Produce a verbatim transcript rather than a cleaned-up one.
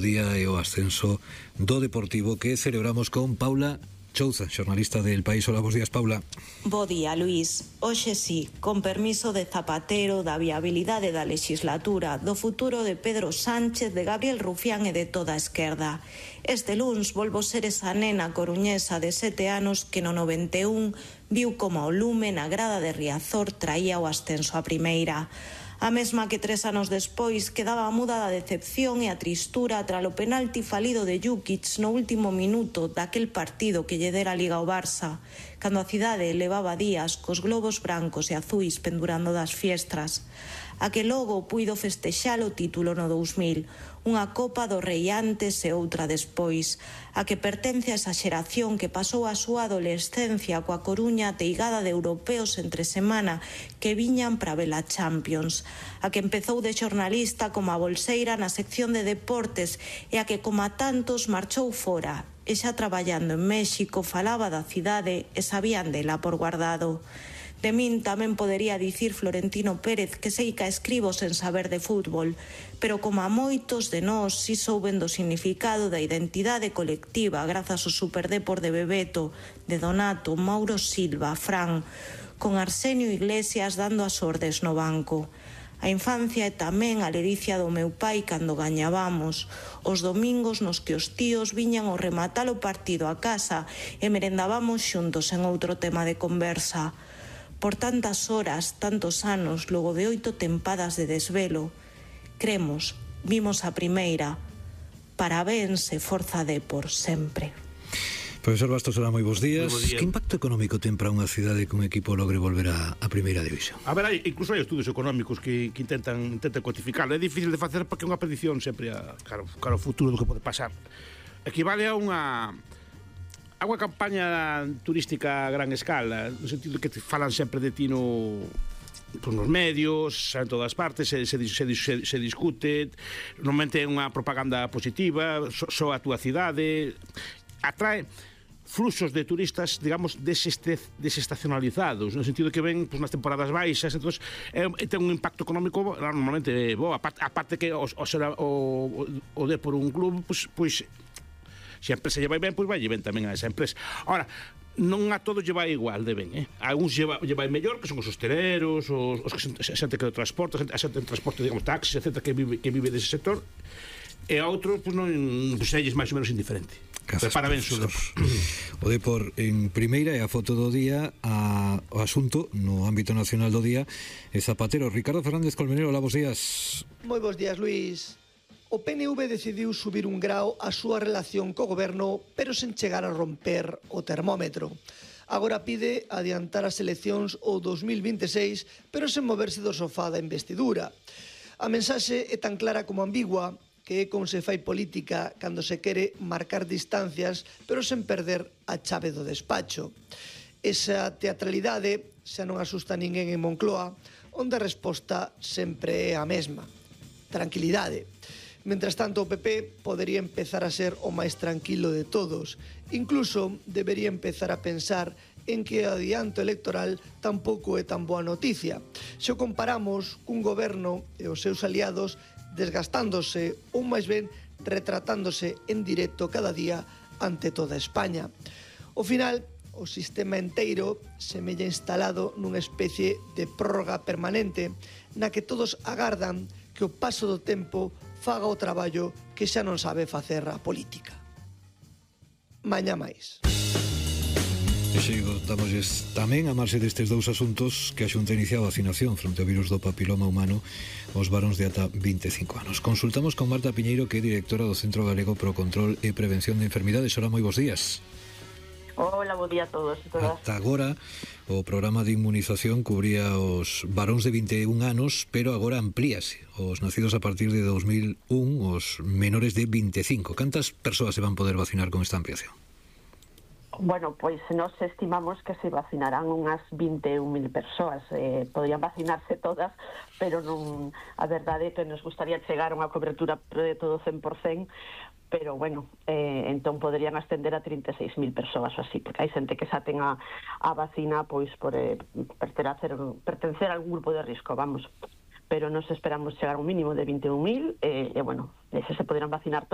día e o ascenso do Deportivo que celebramos con Paula Chouza, xornalista del País. Hola, bos días, Paula. Bo día, Luís. Hoxe sí, con permiso de Zapatero, da viabilidade da legislatura, do futuro de Pedro Sánchez, de Gabriel Rufián e de toda a esquerda. Este luns volvo ser esa nena coruñesa de sete anos que no noventa e un viu como o lume na grada de Riazor traía o ascenso a primeira. A mesma que tres anos despois quedaba muda da decepción e a tristura tras o penalti falido de Jukic no último minuto daquel partido que lle dera a Liga ao Barça, cando a cidade levaba días cos globos brancos e azuis pendurando das fiestras. A que logo puido festexar o título no dous mil, unha Copa do Rei antes e outra despois, a que pertence a esa xeración que pasou a súa adolescencia coa Coruña teigada de europeos entre semana que viñan para ver a Champions, a que empezou de xornalista como a bolseira na sección de deportes e a que, como a tantos, marchou fora e xa traballando en México falaba da cidade e sabían dela por guardado. De min tamén podería dicir Florentino Pérez que sei que escribo sen saber de fútbol, pero como a moitos de nós si souben do significado da identidade colectiva grazas ao Superdepor de Bebeto, de Donato, Mauro Silva, Fran, con Arsenio Iglesias dando as ordes no banco. A infancia é tamén a ledicia do meu pai cando gañábamos, os domingos nos que os tíos viñan ao rematar o partido a casa e merendábamos xuntos en outro tema de conversa. Por tantas horas, tantos anos, logo de oito tempadas de desvelo, cremos, vimos a primeira. Parabéns e forza de por sempre. Profesor Bastos, hola, moi bons días. Moi bo día. Que impacto económico ten para unha cidade que un equipo logre volver a, a primeira división? A ver, hai, incluso hai estudos económicos que, que intentan, intentan cuantificar. É difícil de facer porque é unha predicción sempre a, cara, cara ao futuro do que pode pasar. Equivale a unha... a unha campaña turística a gran escala, no sentido que te falan sempre de ti no, pues, nos medios, en todas partes, se, se, se, se, se discute, normalmente é unha propaganda positiva, só so a túa cidade, atrae fluxos de turistas, digamos, desestacionalizados, no sentido que ven pues, nas temporadas baixas, entonces é, ten un impacto económico normalmente bo, aparte, aparte que o, o, o, o de por un club, pues, pues se a empresa lle vai ben, pois vai lle ben tamén a esa empresa. Ahora, non a todos lle vai igual de ben, eh? A algúns lle vai, lle vai mellor, que son os hosteleros, os, os que a xente que transporta, a xente que transporta, digamos, taxis, etcétera, que vive, que vive dese sector, e a outros, pois non, pois elles máis ou menos indiferente. Pero parabéns, o O Depor en primeira e a foto do día, a, o asunto no ámbito nacional do día é Zapatero. Ricardo Fernández Colmenero, hola, bos días. Moi bos días, Luís. O P N V decidiu subir un grao a súa relación co goberno, pero sen chegar a romper o termómetro. Agora pide adiantar as eleccións o dos mil vinte e seis, pero sen moverse do sofá da investidura. A mensaxe é tan clara como ambigua, que é como se fai política cando se quere marcar distancias, pero sen perder a chave do despacho. Esa teatralidade xa non asusta a ninguén en Moncloa, onde a resposta sempre é a mesma: tranquilidade. Mentras tanto, o P P podería empezar a ser o máis tranquilo de todos. Incluso debería empezar a pensar en que o adianto electoral tampouco é tan boa noticia. Se o comparamos cun goberno e os seus aliados desgastándose ou máis ben retratándose en directo cada día ante toda España. Ao final, o sistema enteiro semella instalado nunha especie de prórroga permanente na que todos agardan que o paso do tempo faga o traballo que xa non sabe facer a política. Mañá máis. E xegotamos tamén a marxe destes dous asuntos que a Xunta inicia a vacinación fronte ao virus do papiloma humano aos varóns de ata vinte e cinco anos. Consultamos con Marta Piñeiro, que é directora do Centro Galego pro Control e Prevención de Enfermidades. Hola, moi bons días. Hola, bo día a todos e todas. Ata agora o programa de inmunización cubría os varóns de vinte e un anos, pero agora amplíase os nacidos a partir de dos mil un, os menores de vinte e cinco. Cantas persoas se van poder vacinar con esta ampliación? Bueno, pois nos estimamos que se vacinarán unhas vinte e un mil persoas. Eh, podrían vacinarse todas, pero non, a verdade é que nos gustaría chegar a unha cobertura de todo cen por cento, pero bueno, eh, entón poderían ascender a trinta e seis mil persoas ou así, porque hai xente que xa ten a, a vacina pois por eh, pertencer, pertencer a algún grupo de risco, vamos. Pero nos esperamos chegar a un mínimo de vinte e un mil, e, eh, e bueno, ese se poderán vacinar todos.